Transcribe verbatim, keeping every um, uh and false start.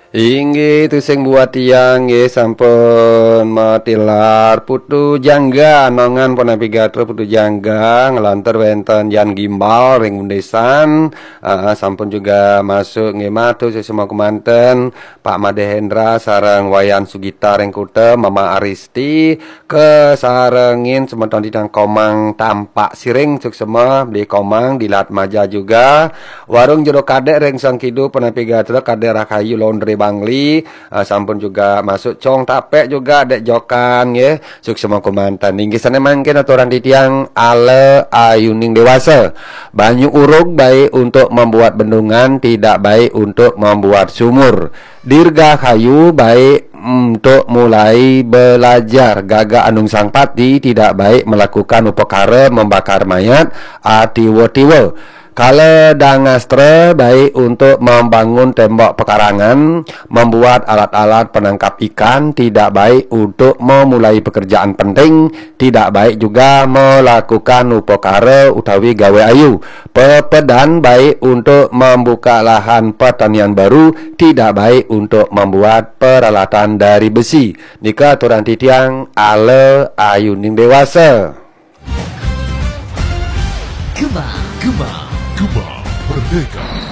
Inggih, tusing buat tiang, nggih, sampun matilar Putu Jangga, nongan punapi gatra Putu Jangga, nglantur wénten Yan Gimbal ring Undesan, ah, sampun juga masuk, nggih, matur suksma kémanten, Pak Made Hendra sareng Wayan Sugita ring Kuta, Mama Aristi, kasarengin semeton titiang Komang Tampak Siring, suksma, Bli Komang, Dilat Maja juga, Warung Jero Kadék ring Sangkidu, punapi gatra Kadék Rahayu Laundry Bangli, ah, sampun juga masuk Cong Tapék juga, Dék Jokan, nggih. Suksma kémanten. Inggih sané mangkin aturang titiang ala ayuning déwasa. Banyu urug baik untuk membuat bendungan, tidak baik untuk membuat sumur. Dirgahayu baik untuk mulai belajar. Gaga Anung Sangpati tidak baik melakukan upakara membakar mayat, atiwa-tiwa. Kala Dangastra baik untuk membangun tembok pekarangan, membuat alat-alat penangkap ikan, tidak baik untuk memulai pekerjaan penting, tidak baik juga melakukan upakara utawi gawé ayu. Pepedan baik untuk membuka lahan pertanian baru, tidak baik untuk membuat peralatan dari besi. Nika aturang titiang ala ayuning déwasa. Gema, Gema, Gema Merdeka.